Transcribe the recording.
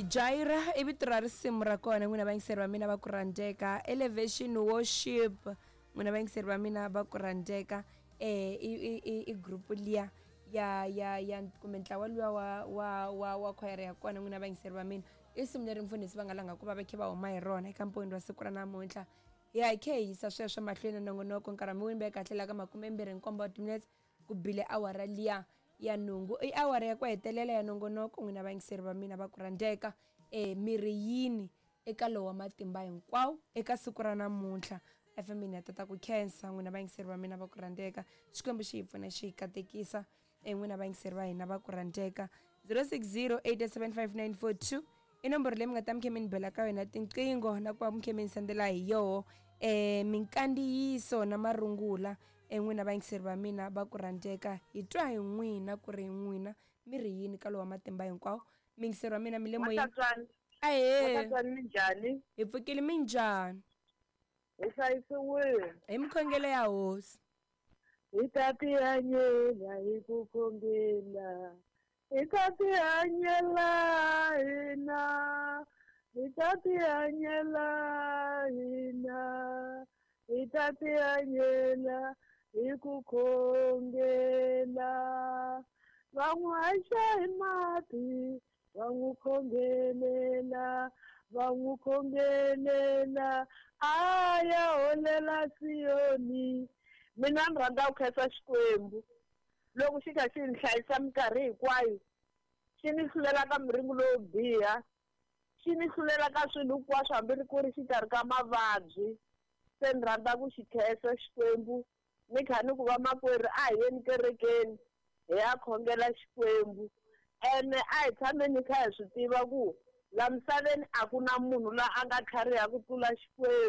Jaira i vito ra risimu ra kona n'wina vayingiseri va mina va ku rhandzeka. Elevation Worship n'wina vayingiseri va mina va ku rhandzeka. I group liya ya ya ya kumbe ntlawa luwa wa wa wa wa khwayere ya kona n'wina vayingiseri va mina. I risimu leri mfundhisi va nga langa ku va va khe va huma hi rona eka mpowini wa siku ra namuntlha. Hi ya hi khe hi yisa sweswo mahlweni na nongonoko nkarhi mi wini kahle la ka 27 wa timinetse ku bile awara liya ya nhungu. I awara ya ku hetelela ya nongonoko n'wina vayingiseri va mina va ku rhandzeka. Miri yini eka lowa matimba hinkwawo eka siku ra namuntlha. FM ya tata ku khensa n'wina vayingiseri va mina va ku rhandzeka. Xikwembu xi hi pfuna xi hi katekisa. N'wina vayingiseri va hina va ku rhandzeka. 0608755942 i nomboro leyi mi nga ta mi khe mi ni bela ka yona tinqingho na ku va mi khe mi ni sendela hi yoho minkandziyiso na marungula. N'wina vayingiseri va mina va ku rhandzeka, hi twa hi n'wina ku ri n'wina mi ri yini ka lowa matimba hinkwawo. Miyingiseri wa mina mi le moyeni. Ahee, minjhani? Hi pfukile, minjhani? Hi hlayisiwile hi mikhongelo ya hosi. Hi ta tihanyela hi ku khongela, hi ta tihanyela hina, hi ta tihanyela hina, hi ta tihanyela hi ku khongela. Va n'wi haxa hi mati, va n'wi khongelela, va n'wi khongelela, a ya holela Siyoni. Mina ni rhandza ku khensa Xikwembu loko xi kha xi ni hlayisa minkarhi hinkwayo, xi ni hlulela ka miringo lowo biha, xi ni hlulela ka swilo hinkwaswo hambi ri ku ri xikarhi ka mavabyi. Se ni rhandza ku xi khensa Xikwembu, ni kha ni ku vamakwerhu a hi yeni kerekeni hi ya khongela Xikwembu. Ene a hi tshameni kha hi swi tiva ku la misaveni a ku na munhu la a nga tlhariha ku tlula Xikwembu.